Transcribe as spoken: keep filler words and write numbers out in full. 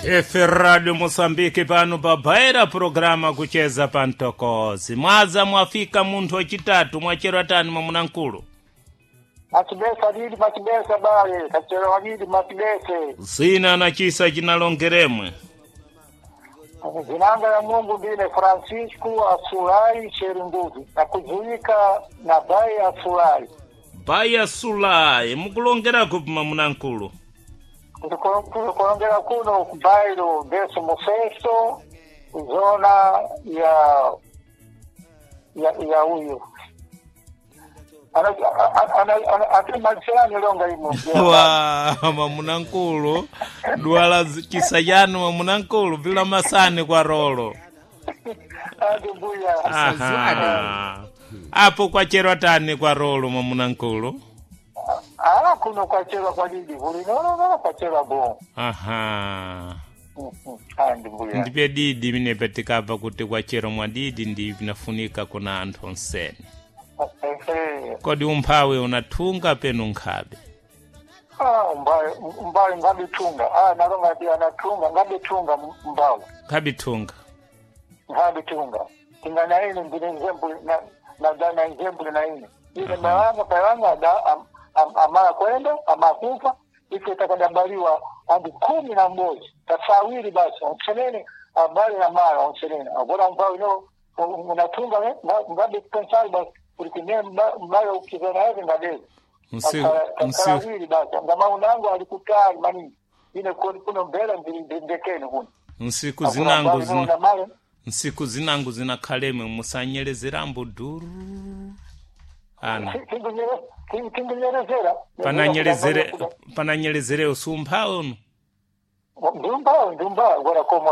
F Radio Mosambiki pano pabaira programa kucheza pa mtokozi. Mwaza mwafika munthu wachitatu, mwachero atani mwamuna mkulu? Machibesa lili machibesa bale kachero walili machibese. Zina na chisa chinalongeremwe. Zinanga ya Mungu ndine Francisco Asulai Sherunguzi nakuzuika na bai Asulai. Baya Sulai, mukulongerako mwamuna mkulu? Ndikulongera kuno kubairo décimo sexto, zona ya ya ya uyu atimaliserani longa imu. Wa mwamuna mkulu, dwala zi- chisa chanu mwamuna mkulu bila masani kwa rolo. Adi mbuya. Aha. Apo kwachero atani kwa rolo mwamuna mkulu? Ah, kuno kwachera kwa lili kulinononono kwachera bo. Aha. Andi mbuya. Ndipe didi minepe tikabva kuti kwachero mwadidi ndi vinafunika kuna anthu onsene. Ehe. Kodi umphawi unathunga penu nkhabe? Ah, mbaye mbaye ngabitunga. Ah, nalonga ti anatunga ngabitunga mbawe. Nkhabithunga. Ngabitunga. Tinga na ine ndine nzembu na na dana nzembu na ine. Ile malanga palanga da am, am, amara kwenda amakufa ife takadabaliwa andi kumi na mmoja tasawiri basi onsenene abali na mara onsenene agora mbawe no unatunga ngabe pensari basi ulikine mbawe ukizana yake ngadezi. Nsi- nsi- Tasawiri basi ngama unangu alikutali maningi ine koni kuno mbela ndekeni kuno. Nsiku zinangu zina zina nsiku zinangu zinakhalemwe musanyelezerambo duru ana tingunyerezera. pananyelezere pananyelezere usumpha uno. Ndumba ndumba gora koma.